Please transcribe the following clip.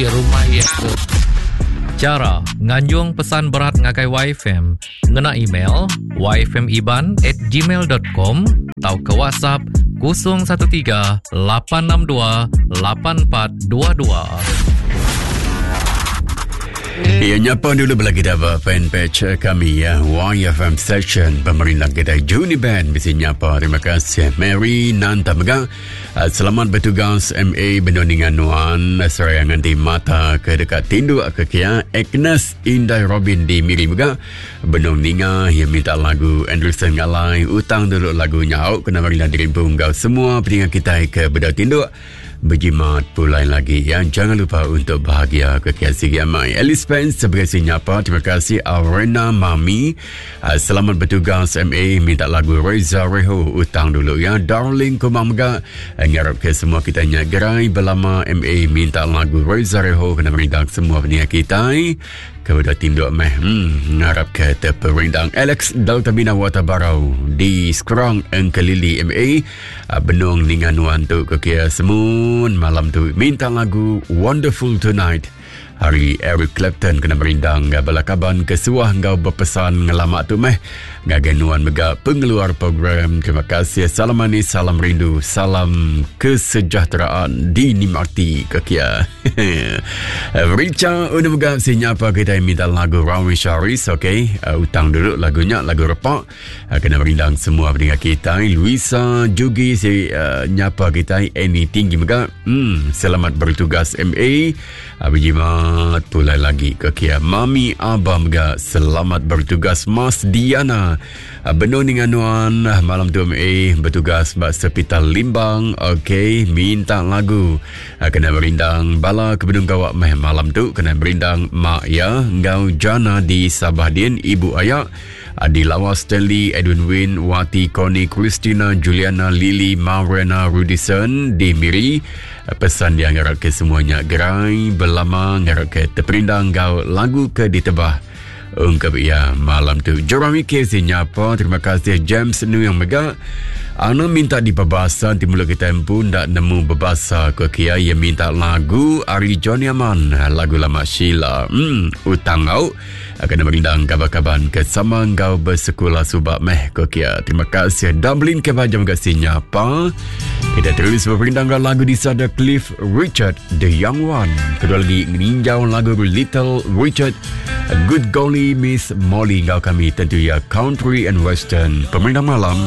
Rumah iya ke. Chara nganjung pesan berat ngagai YFM ngena email yfmiban at gmail dot com tauka WhatsApp 013 862 8422. Ya, nyapa dulu bela kita ba fanpage kami ya YFM Session pemerintah kita Juni Band bisi nyapa terima kasih Mary Nanta mega Ah, selamat bertugas MA benung ninga nuan seraya nganti mata ke deka tinduk ke kia Agnes Indai Robin di Miri mega benung ninga iya minta lagu Anderson Ngalai utang dulu lagu nyau kena meri diri empu enggau semua peninga kitai ke bedau tinduk berjimat pulai lagi ya jangan lupa untuk bahagia ke kia sigi amai Alice Spence sebagai si nyapa terima kasih Arena Mami Ah, selamat bertugas MA minta lagu Reza Reho utang dulu ya. Darling Kumang mega eh, ngarap ke semua kita nya gerai belama MA minta lagu Reza Reho kena merindang semua peninga kita. Ke udah tinduk meh. Hmm, ngarap ke terperindang Alex Delta Bina Wata Barau di Skrang Engkelili MA ah, benung ninga nuan tu ke kia semun malam tu minta lagu Wonderful Tonight. Hari Eric Clapton kena merindang bala kaban ke suah enggau bepesan ngelama tu meh ngagai nuan mega pengeluar program. Terima kasih. Salam manis, salam rindu, salam kesejahteraan dinikmati ke kia. Richa udah mega si nyapa kita minta lagu Rawi Sharis, okey. Uh, utang dulu lagunya, lagu repak. Uh, kena merindang semua pendengar kita. Luisa Jugi si uh, nyapa kita Annie tinggi mega. Hmm, selamat bertugas MA. Berjimat pulai lagi ke kia. Mami Abah mega selamat bertugas Mas Diana. Benung dengan nuan malam tu MA bertugas ba Sepital Limbang. Okey, minta lagu kena merindang bala ke benung gawa meh malam tu kena merindang mak ya enggau Jana di Sabah din ibu ayak di Lawas Stanley Edwin Win Wati Connie Christina Juliana Lily Marena Rudison di Miri. Pesan dia ngarap ke semuanya gerai belama ngarap ke terperindang enggau lagu ke ditebah ungkap ia malam tu. Jeremy Casey nyapa terima kasih James Nuyang mega. Ana minta dipebasa ti mula kita empu ndak nemu bebasa ke kia ia minta lagu ari Johnny Aman lagu lama Sheila. Hmm, utang au. Kena merindang kaban-kaban ke sama enggau bersekula subak meh ko kia. Terima kasih Dublin ke bajam ke sinyapa. Kita terus berperindang enggau lagu di sada Cliff Richard The Young One. Kedua lagi meninjau lagu Little Richard Good Golly Miss Molly enggau kami tentu ya Country and Western. Pemerindang malam.